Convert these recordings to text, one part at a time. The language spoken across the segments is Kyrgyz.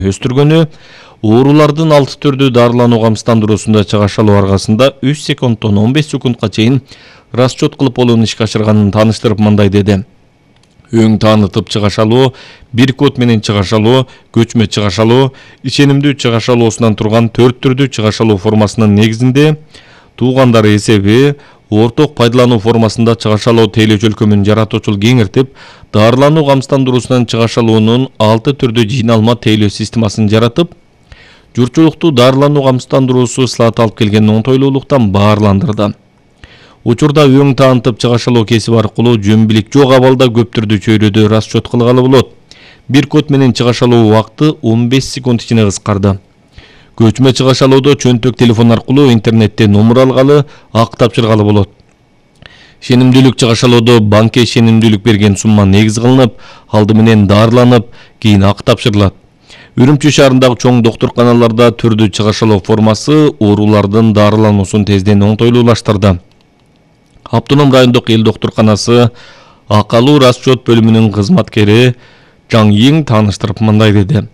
Өстүргөнү оорулардын 6 түрдүү дарылануу камсыздандыруусунда чыгаш алуу аркасында 3 секундтон 15 секундка чейин расчет кылып болууну ишке ашырганын тааныштырып мындай деди. Өң таанытып чыгаш алуу, бир код менен чыгаш алуу, көчмө чыгаш алуу, ишенимдүү чыгаш алуусунан турган 4 түрдүү чыгаш алуу формасынын негизинде туугандар эсеби орток пайдалануу формасында чыгаш алуу тейлөө чөлкөмүн жаратуучул кеңиртип, дарылануу камсыздандыруусунан чыгаш алуунун 6 түрдүү жыйналма тейлөө системасын жаратып, журтчулукту дарылануу камсыздандыруусу ысылат алып келген оңтойлуулуктан баарландырды. Учурда өң таанытып чыгаш алуу кесиби аркылуу жөн-билик жок абалда көп түрдүү чөйрөдө расчет кылгалы болот. Бир код менен чыгаш алуу убакыты 15 секунд ичине кыскарды. Көчмө чыгаш алууда чөнтөк телефон аркылуу интернетте номер алгалы, ак тапшыргалы болот. Ишенимдүүлүк чыгаш алууда банкка ишенимдүүлүк берген сумма негиз кылынып, алды менен дарыланып, кийин ак тапшырылат. Үрүмчү шаарындагы чоң доктурканаларда түрдүү чыгаш алуу формасы оорулардын дарылануусун тезден оңтойлуулаштырды. Автоном райондук эл доктурканасы акалуу расчет бөлүмүнүн кызматкери Жаң Йиң тааныштырып мындай деди.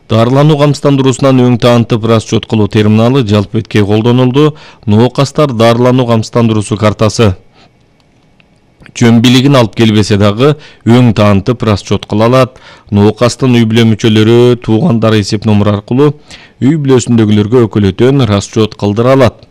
Дарылануу камсыздандыруусунан өң таанытып расчет кылуу терминалы жалпы бетке колдонулду. Ноокастар дарылануу камсыздандыруусу картасы жөн билигин алып келбесе дагы өң таанытып расчет кыла алат. Ноокастын үй бүлө мүчөлөрү туугандар эсеп номер аркылуу үй бүлөсүндөгүлөргө өкөлөтөн расчет кылдыра алат.